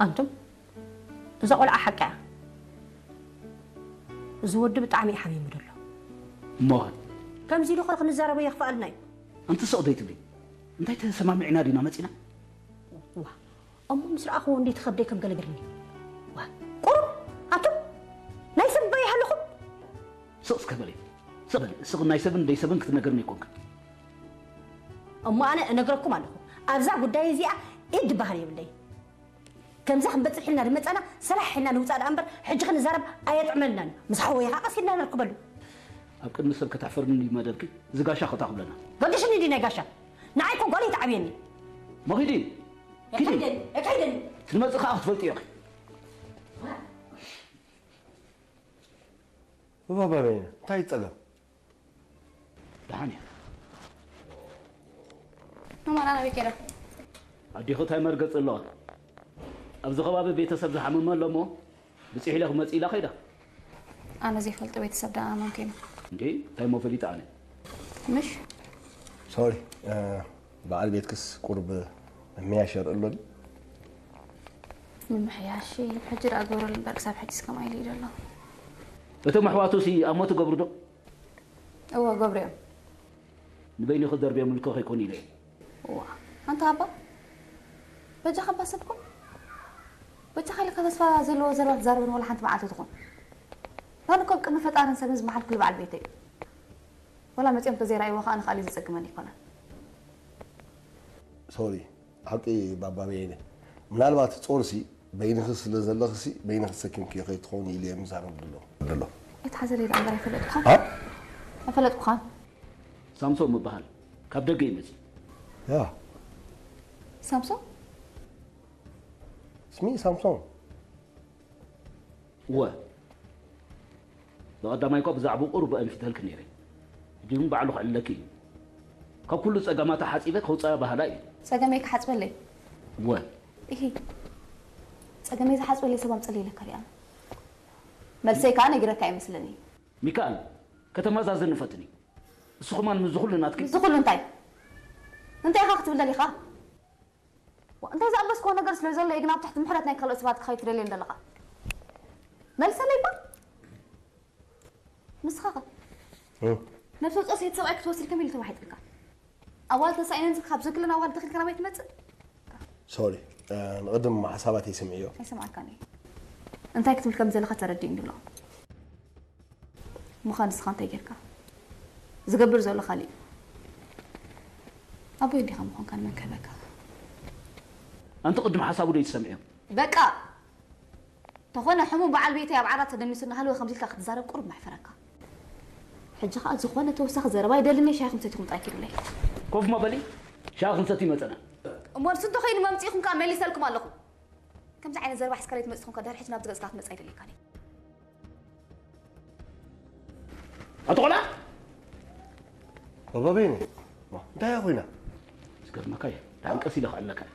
ኣንቱም፣ እዛ ቆልዓ ሓቃ እያ። እዚ ወዲ ብጣዕሚ እዩ ሓሚሙ ዘሎ። እሞኸ ከምዚ ኢሉ ኸ ክንዛረቦ የኽፍኣልና እዩ። ኣንቲ ስቕ ዘይትብሊ? እንታይ ተሰማሚዕና ዲና መፂና? ዋ እሞ ምስ ረኣኽዎ እንዴት ኸብደይ ከም ገለ ገርኒ። ዋ ቁሩብ ኣቱም ናይ ሰብ በይ ሃለኹም። ስቕ እስከ በሊ። ስቕ በሊ። ስቕ ናይ ሰብን ደይ ሰብን ክትነገርኒ ኣይኮንክን። እሞ ኣነ እነግረኩም ኣለኹ። ኣብዛ ጉዳይ እዚኣ ኢድ ድበሃል የብለይ። ከምዛ ክንበፅሕ ኢልና ድመፃና ሰላሕ ኢልና ንውፃእ ደኣ እምበር ሕጂ ክንዛረብ ኣየጥዕመልናን። ምስ ሓወይ ኸዓ ቀስ ኢልና ነርክበሉ። ኣብ ቅድሚ ሰብ ከተሕፈርኒ ድዩ መደብኪ? እዚ ጋሻ ኮታ ክብለና። ገድሽኒ ድዩ ናይ ጋሻ? ንዓይ እኮ ጓል ይትዓብየኒ። ሞኺዲ ኪዲ። የካይደኒ፣ የካይደኒ። ትመፂ ኸዓ ክትፈልጢ ኢኺ። እባ በበይነ እንታይ ጸገም? ደሓን እየ። ማማ ናበይ ከይዳ? ኣዴኺ እንታይ መርገፂ ኣለዋ? ኣብዚ ከባቢ ቤተሰብ ዝሓመመ ኣሎ እሞ ብፂሕ ኢለ ክመፅእ ኢላ ከይዳ። ኣነ ዘይፈልጦ ቤተሰብ ደኣ ኣመንኩ ኢና። እንዴ እንታይ እሞ ፈሊጠ ኣነ? ምሽ ሶሪ በዓል ቤትክስ ቁሩብ ምምሕያሽ የርኢ ኣሎ ድዩ? ምምሕያሽ ሕጂ ደኣ ግበረሉ እምበር ክሳብ ሕጂስ ከምኣ ኢሉ እዩ ዘሎ። እቶም ኣሕዋቱሲ ኣሞ ትገብሩ ዶ? እወ ገብሩ እዮም። ንበይኑ ክደርብዮምልኪ ከይኮኑ ኢለ እየ። እዋ ኣንታ ኣባ በጃኻ እባ ሰብ ኩን። በጃኻ ኢልካ ተስፋ ዘለዎ ዘረባ ትዛረበኒ ዋላ ሓንቲ መዓልቲ ትኹን። ኣነ እኮ ኣብ ቅድሚ ፈጣርን ሰብን ዝመሓልኩሉ በዓል ቤተይ እዩ። ዋላ መጺኦም ተዘይረኣይዎ ከኣ ንኻልእ ዘጸግመኒ ኣይኮነን። ሶሪ ሓቂ ባባ በየነ ምናልባት ጾርሲ በይንኺ ስለ ዘለኽሲ በይንኺ ሰኪምክዮ ከይትኾኒ ኢለ እየ ምዛረብ ድሎ ድሎ ኣይትሓዘለይ ደኣ እምበር ኣይፈለጥኩኻን ኣይፈለጥኩኻን ሳምሶም እበሃል ካብ ደገ እዩ መፂኡ ያ ሳምሶም ስሚ ሳምሶም እወ ብቐዳማይ እኳ ብዛዕባኡ ቁሩብ ኣንፊተልኪ ነይረ። ሕጂ ግን ባዕሉ ከዕልለኪ እዩ። ካብ ኩሉ ጸገማታ ሓጺበ ከውጽኣ በሃላይ እየ። ጸገመይ ክሓጽበለይ? እወ። እሂ። ጸገመይ ዝሓጽበለይ ሰብ ኣምጽለይ ኢለካ ዲኣ? መልሰይ ከኣ ነጊረካ ኣይመስልን እየ። ሚካኣል፣ ከተማዛዝኒ ፈትኒ። እሱ ኸማን ምስዚ ኹሉ ናትኪ። ምስዚ ኹሉ እንታይ? እንታይ ኢኻ ክትብል ደሊኻ? እንታይ ዝኣበስክዎ ነገር ስለ ዘሎ እዩ ግን ኣብ ትሕቲ ምሕረት ናይ ካልኦት ሰባት ክኸይድ ትደልየኒ ዘለኻ? መልሰለይ እባ ንስኻ ኸ ነብሰ ጾር ሰይቲ ሰብኣይ ክትወስድ ከመይ ኢሉ ተዋሒጥልካ? ኣዋልድ ተሳኢነን ካብ ዝክለን ኣዋልድ ተኺልካ ናባይ ትመጽእ? ሶሪ ንቕድም ሓሳባተይ ስምዕዮ። ኣይሰምዓካን እየ። እንታይ ክትብል ከም ዘለኻ ተረዲእኒ ኣሎ። ምዃን ንስኻ እንታይ ጌርካ? ዝገብር ዘሎ ካልእ እዩ። ኣቦይ እንዲኻ ምዃንካ ንመን ክህበካ? ኣንቲ ቅድም ሓሳቡ ዶ ይትሰምዕዮ? በቃ! ተኾነ ሕሙም በዓል ቤተይ ኣብ ዓራት ተደኒሱ እናሃለወ ከምዚ ኢልካ ክትዛረብ ቁሩብ መሕፈረካ። ሕጂ ኸኣ ዝኾነ ተወሳኺ ዘረባ ኣይደልን እየ ሻሂ ክንሰቲ ኹምጣ ኪዱለይ። ኮፍ እሞ በሊ ሻሂ ክንሰቲ መጸና። እሞ ንሱ እንተኾይኑ መምጺእኹም ከኣ መሊሰልኩም ኣለኹ። ከምዚ ዓይነት ዘረባ ሒዝካ ለይትመጽእ ተኾንካ ድሕሪ ሕጂ ናብዚ ገጽካ ክትመጽእ ኣይደልየካን እየ። ኣቶ ቆልዓ ባባ በይነ እንታይ እያ ኮይና? ዝገርመካ እየ ደሓን ቀስ ኢለ ክዕለካ እየ።